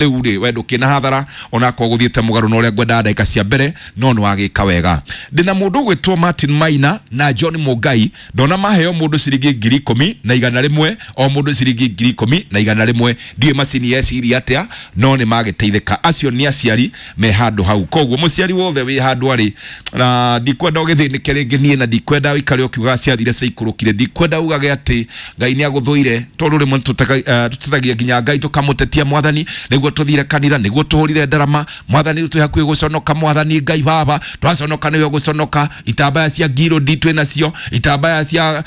Rĩu rĩ, we ndũkĩna hathara onakorwo gũthiĩte mũgarũ na ũrĩa ngwendaga ndagĩka cia mbere, no nĩ wagĩka wega. Ndĩna mũndũ ũgwĩtwo Martin Maina na John Mũngai, ndona maheo mũndũ ciringi 10,100, o mũndũ ciringi 10,100. Ndiũĩ macini yeciria atĩa, no nĩ magĩteithĩka. Acio nĩ aciari me handũ hau. Koguo mũciari wothe wĩ handũ arĩ na ndikwenda ũgĩthĩnĩke rĩngĩ niĩ, na ndikwenda ũikare ũkiugaga ciathire ciaikũrũkire, ndikwenda ugage atĩ Ngai nĩ agũthũire, tondũ rĩmwe tũtetagia nginya Ngai, tũkamũtetia Mwathani nĩguo tũthire kanitha, nĩguo tũhũrire ndarama. Mwathani, rĩu twĩ hakuhĩ gũconoka. Mwathani Ngai baba, twaconoka nĩwe gũconoka. Itambaya cia ngirũndi twĩ nacio, itambaya cia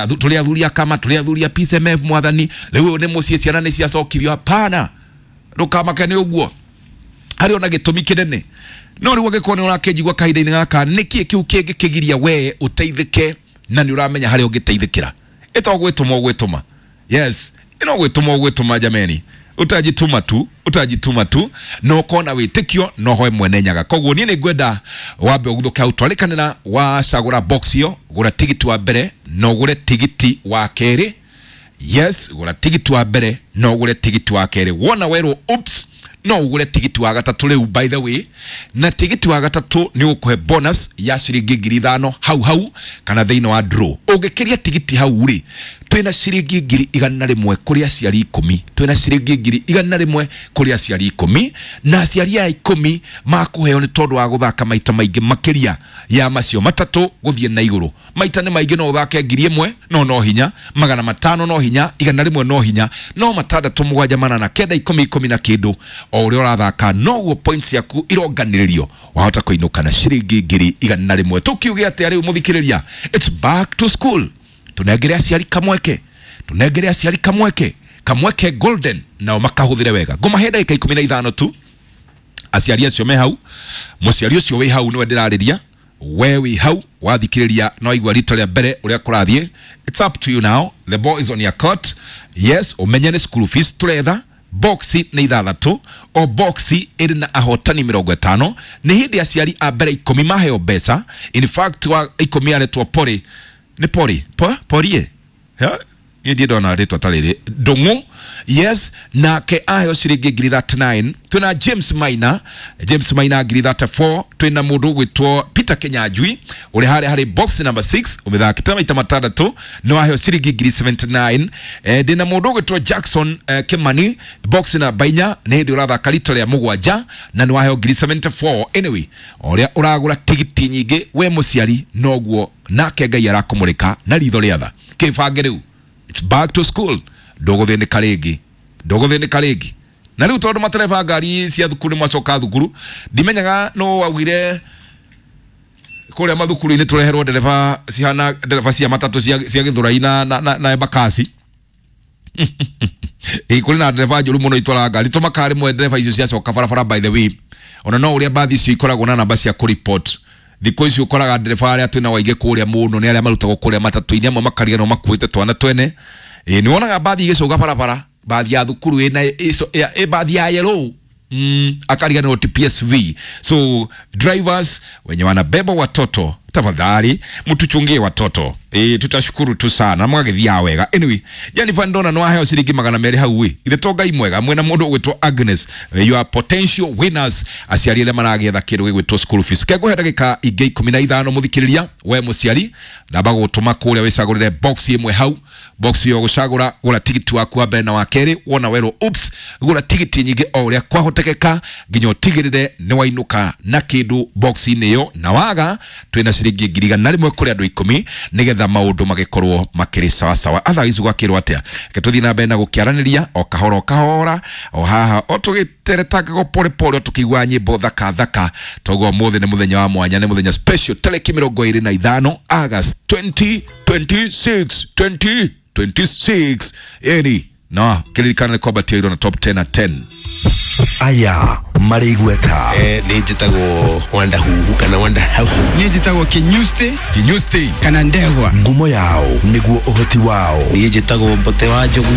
tũrĩ athuri a kama, tũrĩ athuri a PCMF. Mwathani, rĩu ũyũ nĩ mũciĩ, ciana nĩ ciacokirio. Hapana, ndũkamake nĩ ũguo, harĩ ona gĩtũmi kĩnene. No rĩu angĩkorwo nĩ ũrakĩnjigua kahinda-inĩ gaka, nĩkĩ kĩu kĩngĩkĩgiria we ũteithĩke na nĩ ũramenya harĩa ũngĩteithĩkĩra? Ĩto gwĩtũma ũgwĩtũma. Yes, ĩno gwĩtũma ũgwĩtũma. Jameni, utajituma tu, utajituma tu na ũkorwo na wĩtĩkio na ũhoe Mwene Nyaga. Koguo niĩ nĩ ngwenda wambe ũguthũke hau twarĩkanĩra, wacagũra box ĩyo, gũra tigiti wa mbere na ũgũre tigiti wa kerĩ. Yes, gũra tigiti wa mbere na ũgũre tigiti wa kerĩ. Wona werwo oops, no ũgũre tigiti wa gatatũ rĩu, by the way, na tigiti wa gatatũ nĩ ũgũkũhe bonus ya ciringi 5,000 hau hau kana thĩinĩ wa draw. Ũngĩkĩria tigiti hau rĩ, twĩna ciringi 100,000 kũrĩ aciari 10. Twĩna ciringi 100,000 kũrĩ aciari 10, na aciari aya 10 makũheo nĩ tondũ wa gũthaka maita maingĩ makĩria ya macio matatũ gũthiĩ na igũrũ. Maita nĩ maingĩ, no ũthake 1,000, no hinya 500, no hinya 100, no hinya no matandatũ, mũgwanja, manana, kenda, 10, 10 na kĩndũ. O ũrĩa ũrathaka noguo points ciaku ironganĩrĩrio, wahota kũinũka na ciringi 100,000. Tũkiuge atĩa rĩu, mũthikĩrĩria? It's back to school. Tũnengere aciari kamweke, tũnengere aciari kamweke, kamweke golden, nao makahũthĩre wega. Ngũmahe ndagĩka 15 tu aciari acio me hau. Mũciari ũcio wĩ hau nĩwe ndĩrarĩria. We wĩ hau wathikĩrĩria no aigua rita rĩa mbere ũrĩa kũrathiĩ. It's up to you now, the ball is on your court. Yes, ũmenye nĩ school fees tũretha. Boxi nĩ ithathatũ, o boxi ĩrĩ na ahotani 50. Nĩ hĩndĩ aciari a mbere 10 maheo mbeca. In fact, wa 10 aretwo Pori, nĩ Pori po, Porie. Ha? Niĩ ndiĩ ndona rĩtwa ta rĩrĩ. Ndũng'ũ, yes, nake aheo ciringi 39,000. Twĩna James Maina, James Maina 34,000. Twĩna mũndũ ũgwĩtwo Peter Kenyanjui ũrĩa harĩa harĩ box number 6, ũmĩthakĩte maita matandatũ, nĩ waheo ciringi 79,000. Ndĩna mũndũ ũgwĩtwo Jackson Kimani, box namba 4, nĩ hĩndĩ ũrathaka rita rĩa mũgwanja na nĩ waheo 74,000. Anyway, o ũrĩa ũragũra tigiti nyingĩ we mũciari, noguo nake Ngai arakũmũrĩka na ritho rĩa tha. Kĩbange rĩu, it's back to school, ndũgũthĩnĩka rĩngĩ, ndũgũthĩnĩka rĩngĩ. Na rĩu tondũ matereba ngari cia thukuru nĩ macoka thukuru, ndimenyaga no waugire kũrĩa mathukuru-inĩ tũreherwo ndereba cihana ndereba cia matatũ cia Gĩthũrai na Embakasi. Ĩ kũrĩ na ndereba njũru mũno itwaraga ngari. Tũmakaga rĩmwe ndereba icio ciacoka barabara. By the way, ona no ũrĩa mbathi icio ikoragwo na namba cia kũreport thikũ ici, ũkoraga ndereba arĩa twĩna waingĩ kũrĩa mũno nĩ arĩa marutagwo kũrĩa matatũ-inĩ, amwe makariganĩrwo makuĩte twana twene. Ĩ nĩ wonaga mbathi igĩcũga barabara, mbathi ya thukuru ĩna ĩ mbathi ya yellow, akariganĩrwo ti PSV. So drivers wenye wanabeba watoto, tafadhali mtuchungie watoto. Tutashukuru tu sana mwagĩthiaga wega. Anyway, Jennifer, ndona no aheo ciringi 200 hau. Ĩ ithe to Ngai mwega. Mwena mũndũ ũgwĩtwo Agnes, you are potential winners, aciari arĩa maragĩetha kĩndũ gĩgwĩtwo school fees. Kengũhe ndagĩka ingĩ 15, mũthikĩrĩria. We mũciari, namba gũtũma kũrĩa wĩcagũrĩre box ĩmwe hau. Box ĩyo gũcagũra, gũra tigiti waku wa mbere na wa kerĩ. Wona werwo oops, gũra tigiti nyingĩ o ũrĩa kwahotekeka nginya ũtigĩrĩre nĩ wainũka na kĩndũ box-inĩ ĩyo. Na waga, twĩna ciringi 100,000 kũrĩ andũ 10 nĩgetha maũndũ magĩkorwo makĩrĩ sawasawa. Otherwise gwakĩrwo atĩa? Reke tũthiĩ na mbere na gũkĩaranĩria o kahora o kahora, o haha o tũgĩteretangago pole pole, o tũkĩigua nyĩmbo thaka thaka. Toguo ũmũthĩ nĩ mũthenya wa mwanya, nĩ mũthenya special, tarĩki 25 August 2026, 2026. Ĩni no kĩririkana nĩ kwambatia na top 10 na 10. Aya marĩ igweta. Nĩ njĩtagwo Wanda Huhu kana Wanda Hau. Niĩ njĩtagwo Kinyusti. Kinyusti. Kana Ndegwa. Ngumo yao nĩguo ũhoti wao. Niĩ njĩtagwo Mbote wa Njogu.